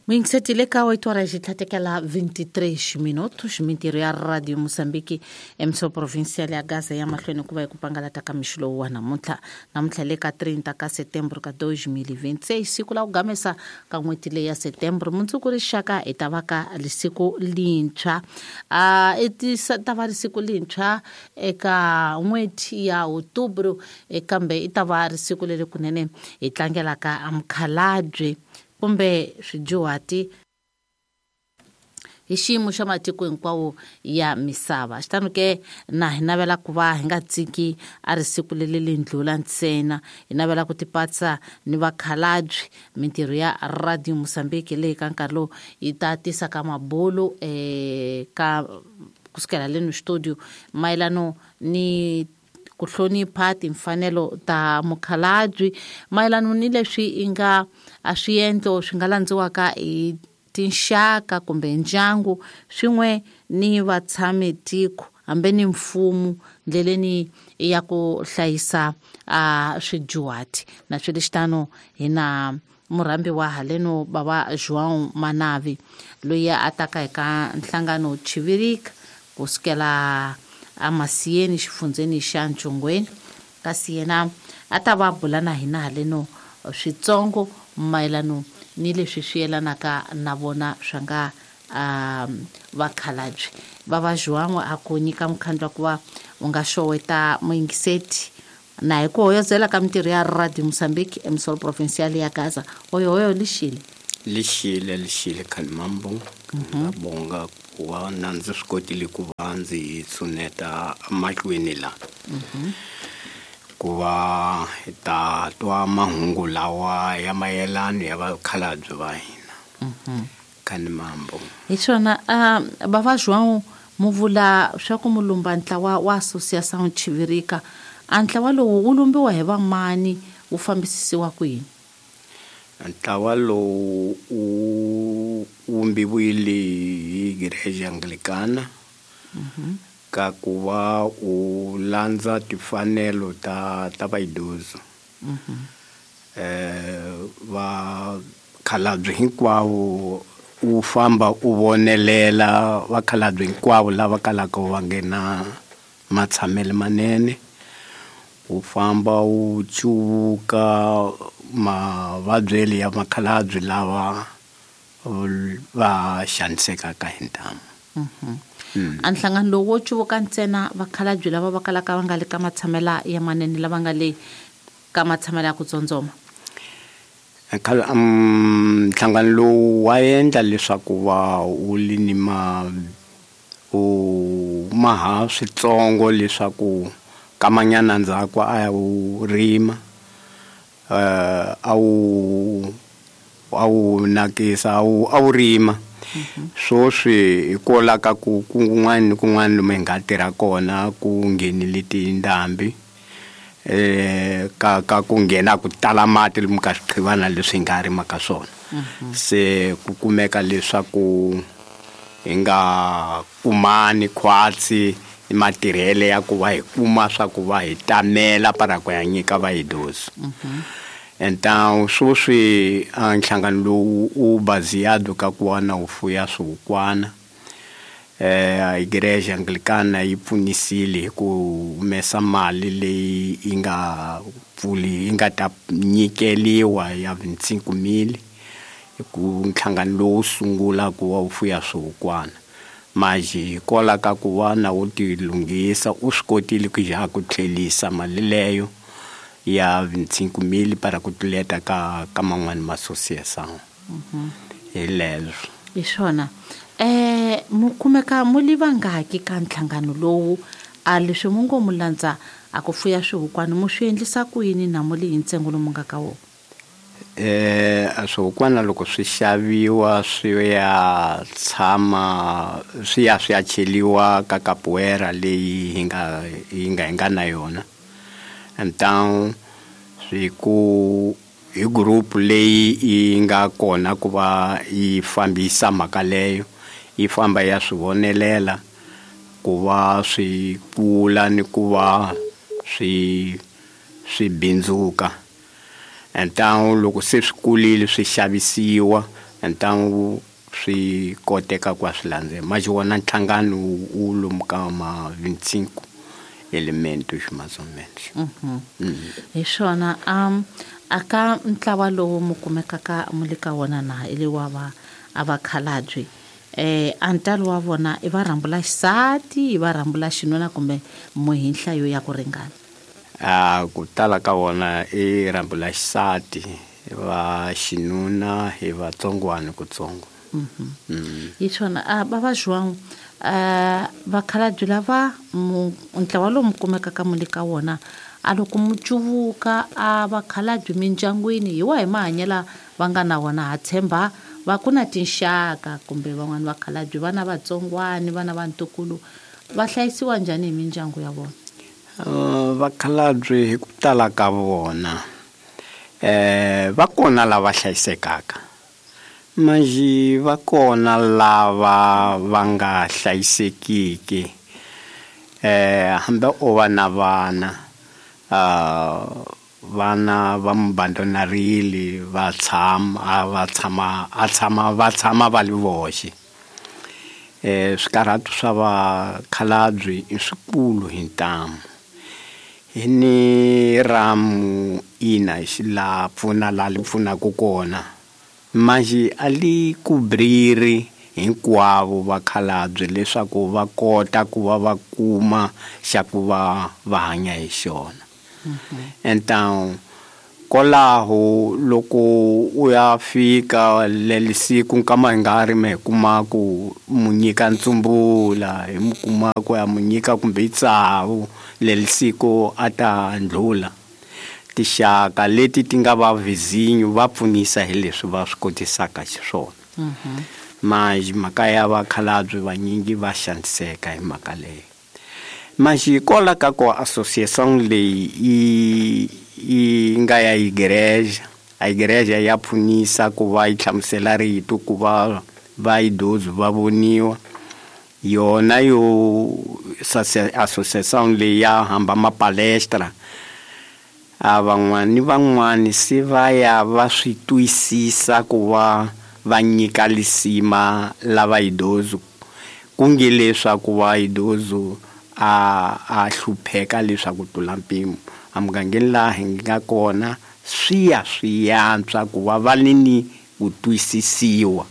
Muyingiseti ka 8 horas xitlhatekela 23 minutos. Mintirho ya Radio Mozambique emso provincial ya Gaza ya mahlweni ku va hi ku pangalata ka mixo lowu wa namuntlha. Namuntlha le ka 30 ka setembro ka 2026, siku la ku gamesa ka n'hweti leyi ya setembro. Mundzuku rixaka hi ta va ka lisiku lintshwa, i ta va risiku lintshwa eka n'hweti ya outubro, kambe i ta va risiku leri kunene hi tlangelaka mukhalabye kumbe swidyuhati hi xiyimo xa matiko hinkwawo ya misava. Xitano ke na hi navela ku va hi nga tsiki a ri siku leri lindlula ntsena, hi navela ku tipatsa ni vakhalabye. Mintirho ya Radio Mozambique leyi ka nkarhi lowu yi ta tisa ka mabulu ka kusukela leno studio mayelano ni ku hlonipha timfanelo ta mukhalabye, mayelano ni leswi i nga a swiendlo swi nga landziwaka hi tinxaka kumbe ndyangu swin'we ni vatshami tiko hambi ni mfumo ndleleni ya ku hlayisa a swidyuhati. Na swi lexitano hi na murhambi wa haleno bava João Manavi loyi a taka eka nhlangano Chivirika kusukela amasiyeni xifundzeni xa Ntshongweni, kasi yena a ta va bula na hina haleno switsongo mayelano ni leswi swi yelanaka na vona swa nga vakhalabye. Bava João a ku nyika mukhandlu wa ku va u nga xoweta muyingiseti na hi ku hoyozela ka mintirho ya Radio Mozambique emisolo provincial ya Gaza. Hoyohoyo lixile. Lixile, lixile Khalimambo. Ngiyabonga ku va na ndzi swi kotile ku va ndzi tshuneta mahlweni la. Ku va hi ta twa mahungu lawa ya mayelano ya vakhalabye va hina. Khalimambo. Hi swona, bava João mu vula swa ku mulumba ntlawa wa Associação Chivirika. A ntlawa lowu wu lumbiwa hi vamani, wu fambisisiwa kwini? Ntlawa lowu wu vumbiwile hi Igreja Anglicana ka ku va u landza timfanelo ta vaidoso. Vakhalabye hinkwavo u famba u vonelela vakhalabye hinkwavo lava kalaka va nghena matshamelo manene, u famba u cuvuka mavabyeli ya makhalabye lava va xanisekaka hi ntamu. A nhlangano lowu wo cuvuka ntsena vakhalabye lava va kalaka va nga le ka matshamela ya manene, lava nga le ka matshamela ya ku tsondzoma. Nhlangano lowu wa endla leswaku va wu li ni ma u maha switsongo leswaku kamanyana ndzhaku a wu rima, a wu nakisa, a wu rima. Swoswi hikwalaho ka ku kun'wana ni kun'wana lomu hi nga tirha kona ku nghenile tindhambi, ka ku nghena ku tala mati lomu ka swiqhivana leswi hi nga rima ka swona. Se ku kumeka leswaku hi nga kumani khwatsi ni matirhele ya ku va hi kuma swa ku va hi tamela para ku ya nyika vaidoso. Então swoswi a nhlangano lowu u baseado ka ku va na wu fuya swihukwana. Igreja Anglicana yi pfunisile hi ku humesa mali leyi yi nga pfuli, yi nga ta nyikeliwa ya 25,000 hi ku nhlangano lowu sungula ku va wu fuya swihukwana. Manje hikwalaho ka ku va na wu ti lunghisa u swi kotile ku ya ku tlhelisa mali leyo ya 25,000 para ku tluleta ka man'wani ma associação. Hi leswo. Hi swona. Mu kumeka mu li vangaki ka nhlangano lowu? A leswi mu ngo mu landza a ku fuya swihukwana mu swi endlisa ku yini na mu li hi ntsengo lomu nga ka wona? A swihukwana loko swi xaviwa swi ya tshama swi ya swi ya cheliwa ka capoeira leyi hi nga na yona. Então swi ku hi group leyi yi nga kona ku va yi fambisa mhaka leyo, yi famba ya swi vonelela ku va swi kula ni ku va swi bindzuka. Então loko se swi kulile swi xavisiwa, Ntangu swi koteka ku swi landzela mas wona nhlangano wu lomu ka ma 25 elementos mais ou menos. Hi swona aka ntlawa lowu mu kumekaka mu le ka wona na i le wa va a vakhalabye a ntalo wa vona i va rhambula xisati i va rhambula xinuna kumbe mu hi nhlayo ya ku ringana? A ku tala ka vona i rhambula xisati, va xinuna hi vatsongwana kutsongo. Hi swona bava João vakhalabye lava ntlawa lowu mu kumekaka mu le ka wona a loko mu cuvuka a vakhalabye mindyangwini hi wahi mahanyelo va nga na wona? Ha tshemba va ku na tinxaka kumbe van'wani vakhalabye vana vatsongwani vana va ntukulu va hlayisiwa njhani hi mindyangu ya vona? Vakhalabye hi ku tala ka vona va kona lava hlayisekaka, manjhe va kona lava va nga hlayisekiki. Hambi o va na vana vana va mu abandonarile va tshama va tshama a tshama va tshama va li voxe. Swikarhato swa vakhalabye i swikulu hi ntamu. Hi ni ramu ina la pfuna la li pfunaka kona, manjhe a li kubriri hinkwavo vakhalabye leswaku va kota ku va va kuma xa ku va va hanya hi xona. Então kwalaho loko u ya fika leli siku nkama hi nga ri mi kuma ku mu nyika ntsumbula hi mu kuma ku ya mu nyika kumbe tsavu leli siku a ta ndlula. Tixaka leti ti nga va vizinyo va pfunisa hi leswi va swi kotisaka xiswona. Manjhe mhaka ya vakhalabye vanyingi va xaniseka hi mhaka leyo. Manjhe kwala ka ku association leyi yi nga ya igreja, a igreja ya pfunisa ku va yi hlamusela rito ku va va idoso va voniwa. Yona yo association leyi ya hamba mapalestra a van'wani van'wani se va ya va swi twisisa ku va va nyika lisima lava idoso, ku nge leswaku va idoso a hlupheka leswaku tlula mpimo. Emugangeni laha hi nga kona swi ya swi yantswa ku va va ni ni ku twisisiwa,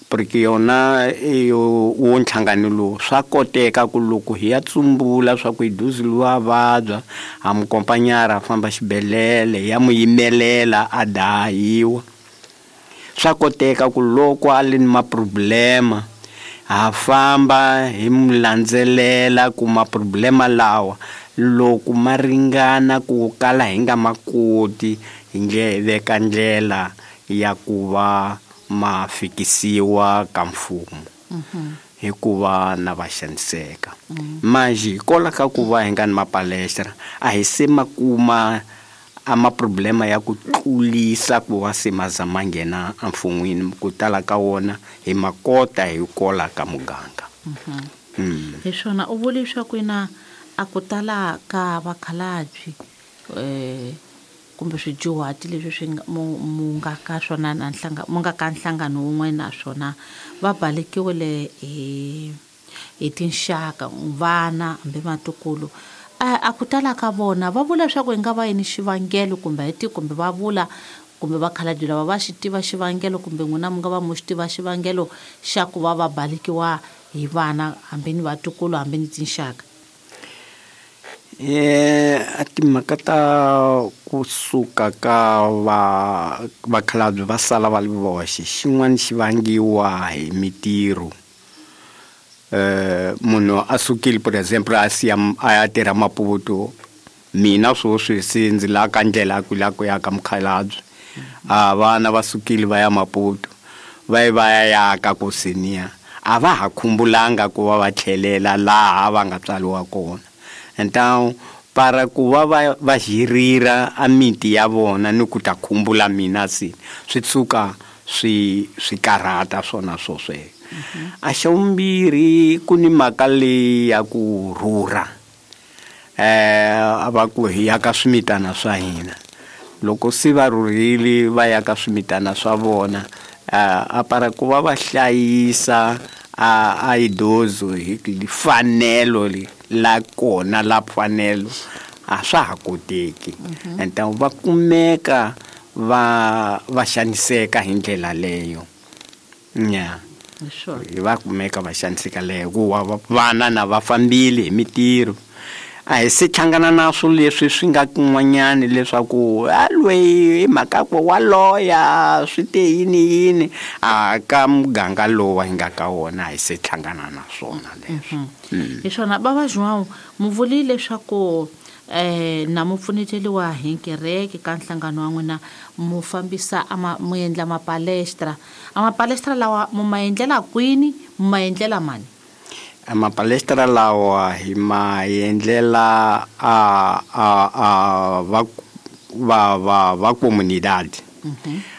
porque yona yo wo nhlangano lowu swa koteka ku loko hi ya tsumbula swa ku idoso luwa vabya ha mu kompanyara a famba xibedhlele ya mu yimelela a dahiwa. Swa koteka ku loko a li ni maproblema ha famba hi mu landzelela ku maproblema lawa loko ma ringana ku kala hi nga makoti hi nge veka ndlela ya ku va ma fikisiwa ka mfumo hikuva na va xaniseka. Manjhe hikwalaho ka ku va hi nga ni mapalestra a hi se ma kuma a maproblema ya ku tlulisa ku va se ma za ma nghena emfun'wini. Ku tala ka wona hi ma kota hi kwala ka muganga. Hi swona u vule leswaku ina a ku tala ka vakhalabye kumbe swidyuhati leswi swi nga mu nga ka swona na mu nga ka nhlangano wun'we na swona va balekiwile hi tinxaka vana hambi vatukulu. A ku tala ka vona va vula leswaku hi nga va yini xivangelo kumbe hi ti kumbe va vula kumbe vakhalabye lava va xi tiva xivangelo kumbe n'wina mi nga va mu xi tiva xivangelo xa ku va va balekiwa hi vana hambi ni vatukulu hambi ni tinxaka? A timhaka ta kusuka ka va vakhalabye va sala va li voxe xin'wana xi vangiwa hi mitirho. Munhu a sukile por exemple a siya a ya tirha Maputo, mina sweswi se ndzi la ka ndlela ku la ku ya ka mukhalabye, a vana va sukile va ya Maputo va ye va ya yaka ku senior a va ha khumbulanga ku va va tlhelela laha va nga tswariwa kona. Então para ku va va hirira a miti ya vona ni ku ta khumbula mina se swi tshuka swi karhata swona swosweswo. A xa vumbirhi ku ni mhaka leyi ya ku rhurha, a va ku hi ya ka swimitana swa hina. Loko se va rhurhile va ya ka swimitana swa vona A para ku va va hlayisa a idoso hi fanelo la kona la fanelo a swa ha koteki. And va kumeka va xaniseka hi ndlela leyo. Nya. Va kumeka va xaniseka leyo ku vana na va fambile hi mitirho. A hi se hlangana na swilo leswi swi nga kun'wanyani leswaku a loyi hi mhaka ku wa loya swi te yini yini a ka muganga lowu hi nga ka wona a hi se hlangana na swona leswi. Hi swona bava João mu vulile leswaku na mu pfuneteliwa hi kereke ka nhlangano wa n'wina mu fambisa mu endla mapalestra. A mapalestra lawa mu ma endlela kwini, mu ma endlela mani? A mapalestra lawa hi ma endlela a va comunidad.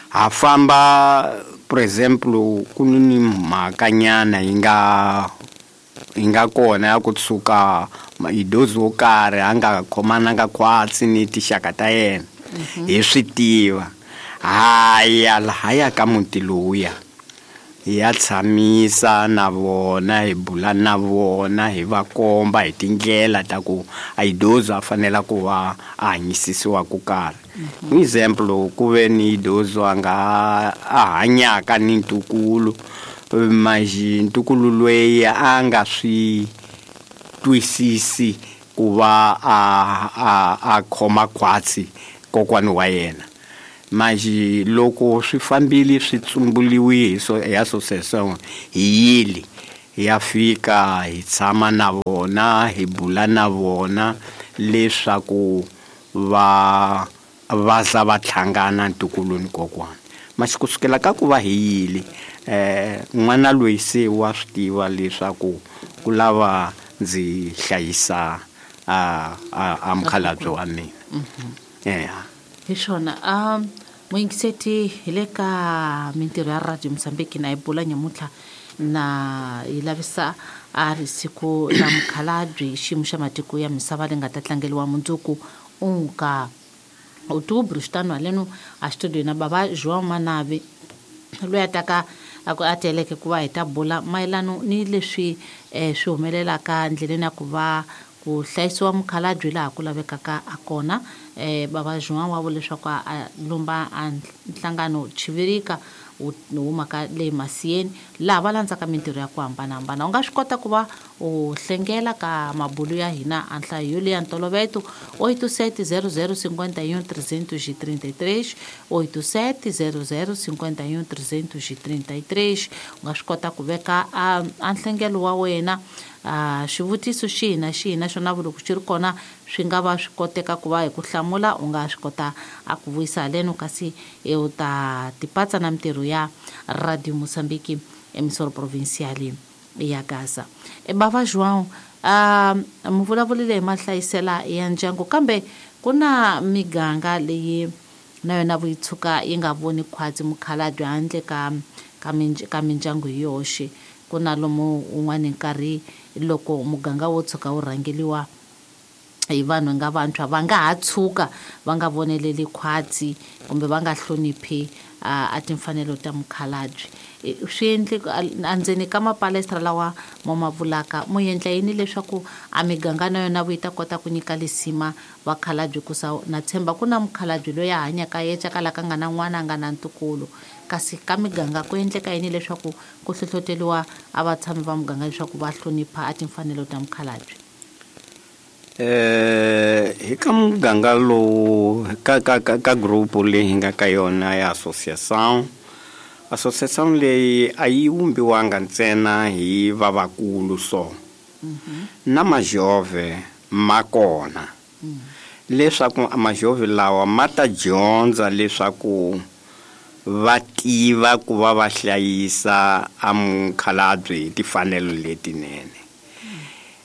Ha famba, por exemplo, ku ni mhakanyana yi nga kona ya ku tshuka idozi wo karhi a nga khomananga khwatsi ni tixaka ta yena. Hi swi tiva. Haya lahaya ka muti lowuya hi ya tshamisa na vona, hi bula na vona, hi va komba hi tindlela ta ku a idozi a fanela ku va a hanyisisiwa ku karhi. Example, ku ve ni idozi a nga a hanyaka ni ntukulu, manjhe ntukulu loyi a nga swi twisisi ku va a khoma khwatsi kokwani wa yena. Manjhe loko swi fambile swi tsumbuliwe hi association hi yile ya fika hi tshama na vona, hi bula na vona leswaku va za va hlangana ntukulu ni kokwana. Masi kusukela ka ku va hi yile n'wana loyi se wa swi tiva leswaku ku lava ndzi hlayisa a mukhalabye wa mina. Hi swona muyingiseti hi le ka mintirho ya Radio Mozambique na hi bula nyamuntlha na yi lavisa a ri siku la mukhalabye xiyimo xa matiko ya misava leyi nga ta tlangeriwa mundzuku unka outubro xitano haleno a studio na bava João Manavi loyi a taka a teleke ku va hi ta bula mayelano ni leswi swi humelelaka ndleleni ya ku va ku hlayisiwa mukhalabye laha ku lavekaka a kona. Bava João wa vula leswaku a lomba a nhlangano Chivirika wu humaka le Masiyeni laha va landzaka mintirho ya ku hambanahambana. U nga swi kota ku va u hlengela ka mabulu ya hina a nhlayo yoleya ntoloveto 87 00 51 333 87 00 51 333. U nga swi kota ku veka a nhlengelo wa wena xivutiso xihi na xihi na xona loko xi ri kona swi nga va swi koteka ku va hi ku hlamula, u nga swi kota a ku vuyisa haleno kasi u ta tipatsa na mintirho ya Radio Mozambique emissora provincial ya Gaza. Bava João mu vulavulile hi mahlayisela ya ndyangu, kambe ku na miganga leyi na yona vuyitshuka yi nga voni khwatsi mukhalabye handle ka mindyangu hi yoxe. Ku na lomu un'wana nkarhi loko muganga wo tshuka wu rhangeliwa hi vanhu nga vantshwa va nga ha tshuka va nga voneleli khwatsi kumbe va nga hloniphi a timfanelo ta mukhalabye. Swi endle endzeni ka mapalestra lawa mo ma vulaka mu endla yini leswaku a miganga na yona yi ta kota ku nyika lisima vakhalabye ku sa na tshemba ku na mukhalabye loyi a hanyaka yexe kala ka nga na n'wana a nga na ntukulu, kasi ka miganga ku endleka yini leswaku ku hlohloteriwa a vatshami va muganga leswaku va hlonipha a timfanelo ta mukhalabye? Hi ka muganga lowu ka group leyi hi nga ka yona ya association leyi a yi vumbiwanga ntsena hi vavakulu so na majove ma kona leswaku majove lawa ma ta dyondza leswaku va tiva ku va va hlayisa a mukhalabye hi timfanelo letinene.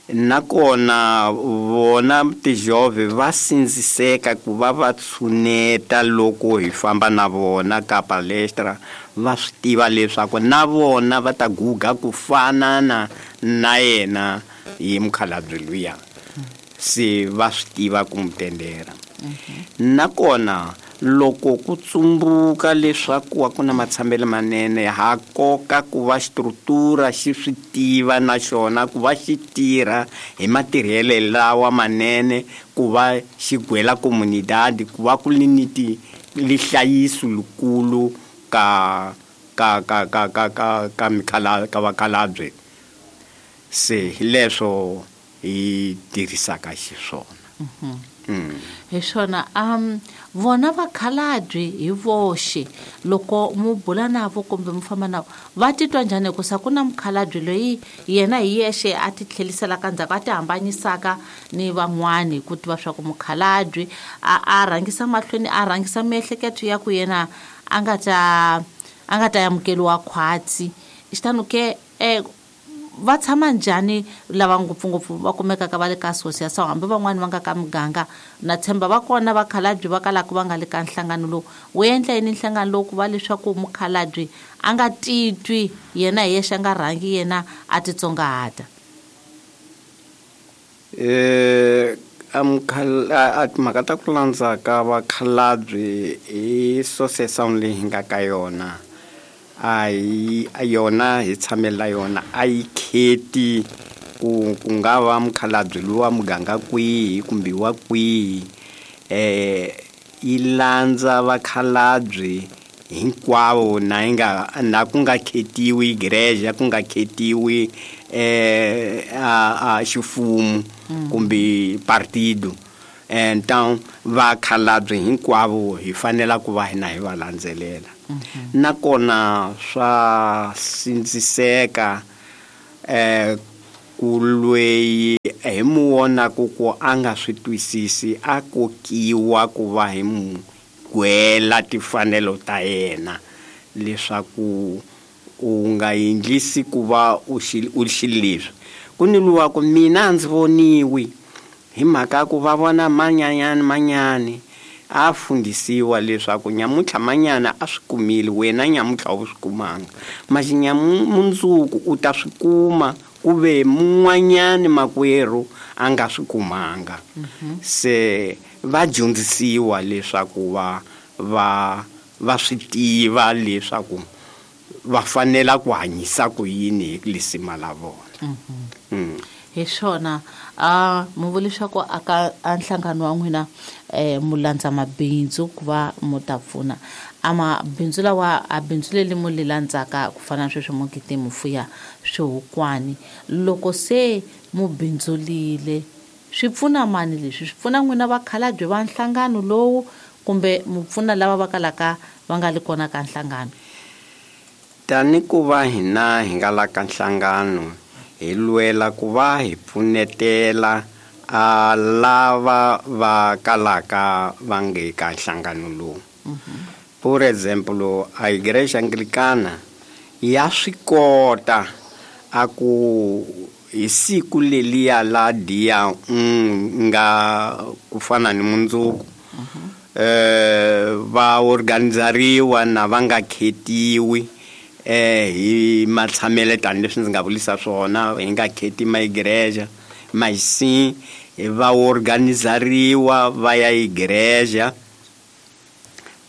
Nakona vona tijove va sindziseka ku va va tshuneta loko hi famba na vona ka palestra, va swi tiva leswaku na vona va ta guga ku fana na yena hi mukhalabye luya, se va swi tiva ku mu tendera. Nakona Loko ku tsumbuka leswaku a ku na matshamelo manene, ha koka ku va xistrutura xi swi tiva na xona ku va xi tirha hi matirhelo lawa manene, ku va xi gwela comunidade, ku va ku li ni ti lihlayiso likulu ka ka ka ka ka ka ka mikhala ka vakhalabye. Se hi leswo hi tirhisaka xiswona. Hi swona. Vona vakhalabye hi voxe loko mu bula navo kumbe mu famba navo va titwa njhani? Hikusa ku na mukhalabye loyi yena hi yexe a ti tlheliselaka ndzhaku, a ti hambanyisaka ni van'wani hi ku tiva swa ku mukhalabye a rhangisa mahlweni, a rhangisa miehleketo ya ku yena a nga ta amukeliwa khwatsi. Xitano ke va tshama njhani lava ngopfungopfu va kumekaka va le ka association, hambi van'wani va nga ka muganga? Na tshemba va kona vakhalabye va kalaka va nga le ka nhlangano lowu. Wu endla yini nhlangano lowu ku va leswaku mukhalabye a nga titwi yena hi yexe, a nga rhangi yena a titsongahata? A timhaka ta ku landza ka vakhalabye hi association leyi hi nga ka yona, a hi yona hi tshamela yona, a yi kheti ku nga va mukhalabye lowa muganga kwihi kumbe wa kwihi. Yi landza vakhalabye hinkwavo, na yi nga, na ku nga khetiwi igreja, ku nga khetiwi a xifumu kumbe partido. Então vakhalabye hinkwavo hi fanela ku va hina hi va landzelela. Nakona swa sindziseka ku lweyi hi mu vonaku ku a nga swi twisisi, a kokiwa ku va hi mu gwela timfanelo ta yena, leswaku u nga endlisi ku va u xileswi. Ku ni luwa ku mina a ndzi voniwi hi mhaka ku va vona manyanyani manyani, a fundisiwa leswaku nyamuntlha manyana a swi kumile, wena nyamuntlha a wu swi kumanga, masi mundzuku u ta swi kuma, ku ve mun'wanyani makwerhu a nga swi kumanga. Se va dyondzisiwa leswaku va swi tiva leswaku va fanela ku hanyisa ku yini hi lisima la vona. Hi swona. Mu vula leswaku aka a nhlangano wa n'wina mu landza mabindzu ku va mu ta pfuna. A mabindzu lawa, a bindzu leri mu li landzaka ku fana na sweswi mu gidi mu fuya swihukwani, loko se mu bindzulile swi pfuna mani leswi? Swi pfuna n'wina vakhalabye va nhlangano lowu kumbe mu pfuna lava va kalaka va nga li kona ka nhlangano? Tani ku va hina hi nga la ka nhlangano, hi lwela ku va hi pfunetela a lava va kalaka va nge ka nhlangano lowu. Por exemplo, a Igreja Anglicana ya swi kota a ku hi siku leliya la dia nga ku fana ni mundzuku, va organizariwa na va nga khetiwi hi matshamele tanihileswi ndzi nga vulisa swona, hi nga kheti maigreja, masi va organizariwa va ya igreja,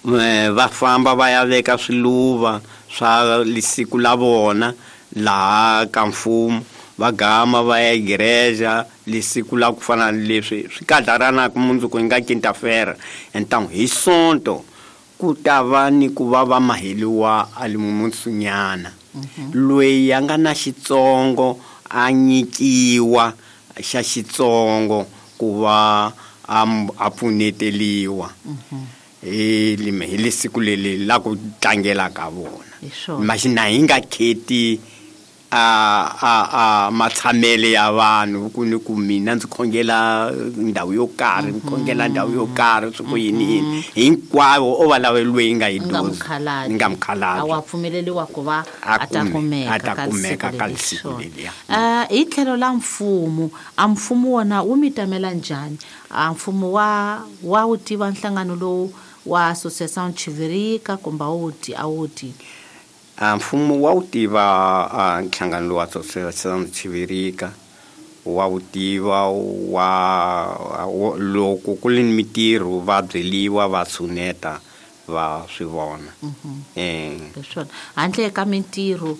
va famba va ya veka swiluva swa siku la vona laha ka mfumo, va gama va ya igreja lesiku la ku fana ni leswi swi kadlaranaka mundzuku hi nga quinta-feira. Então hi Sonto ku ta va ni ku va va maheliwa a limumunsunyana. Loyi a nga na xitsongo a nyikiwa xa xitsongo ku va a pfuneteliwa. Hi lesiku leri la ku tlangela ka vona. Masi na hi nga kheti a matshamele ya vanhu ku ni ku mina ndzi khongela ndhawu yo karhi, ndzi khongela ndhawu yo karhi, swi ku yini yini. Hinkwavo o va lava loyi nga yi Nga dozi. mukhalabye. Nga mukhalabye. A wa pfumeleriwa ku va A a ta kumeka a ta ka kumeka siku ka leri. siku Swona. leriya. Hi tlhelo la mfumo, a mfumo wona wu mi tamela njhani? A mfumo wa wu tiva nhlangano lowu wa Associação Chivirika kumbe a wu ti, a wu tivi? A mfumo wa wu tiva, a nhlangano lowu wa Associação Chivirika. Wa wu tiva wa loko ku ri ni mitirho va byeliwa va tshuneta va swi vona. Hi swona, handle ka mintirho,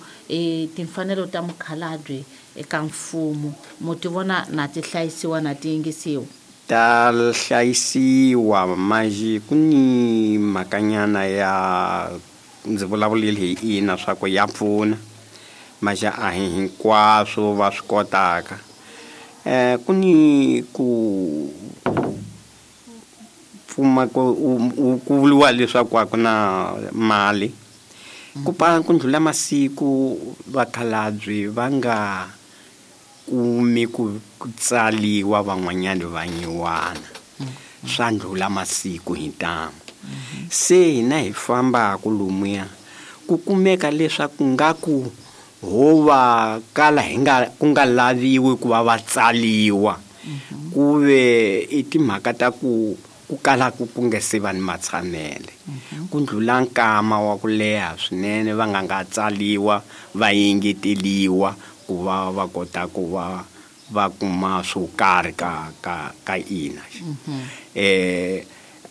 timfanelo ta mukhalabye eka mfumo mu ti vona na ti hlayisiwa na ti yingisiwa? Ta hlayisiwa, manjhe ku ni mhakanyana ya ndzi vulavulile hi ina swa ku ya pfuna, manjhe a hi hinkwaswo va swi kotaka. Ku ni ku pfuma ku ku vuriwa leswaku a ku na mali, ku pa ku ndlhula masiku vakhalabye va nga kumi ku tsaliwa van'wanyana va nyiwana, swa ndlhula masiku hi ntamu. Se hina hi fambaku lomuya ku kumeka leswaku nga ku ho va kala hi nga ku nga laviwi ku va va tsaliwa, ku ve i timhaka ta ku ku kala ku ku nga se va ni matshamele, ku ndlhula nkama wa ku leha swinene va nga nga tsaliwa va yengeteliwa ku va va kota ku va va kuma swo karhi ka ka ka ina.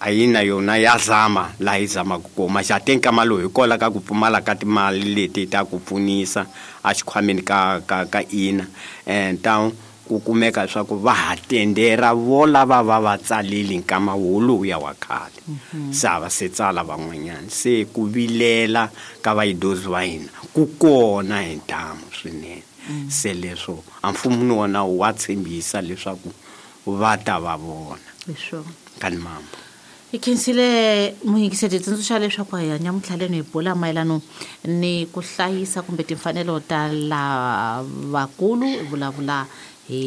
A yi na yona ya zama laha yi zamaka kona, xa te nkama lowu hi kola ka ku pfumala ka timali leti ta ku pfunisa a xikhwameni ka ka ka ina. Ta ku kumeka leswaku va ha tendera vo lava va va tsalile nkama woluya wa khale, se a va se tsala van'wanyana. Se ku vilela ka vayidozi va hina ku kona hi ntamu swinene. Se leswo a mfumo ni wona wa tshembisa leswaku va ta va vona. Hi swona. Ka ni mambo. Hi khensile muyingiseri, tsundzuxa leswaku hi hanya mutlhaleni hi bula mayelano ni ku hlayisa kumbe timfanelo ta lavakulu, hi vulavula hi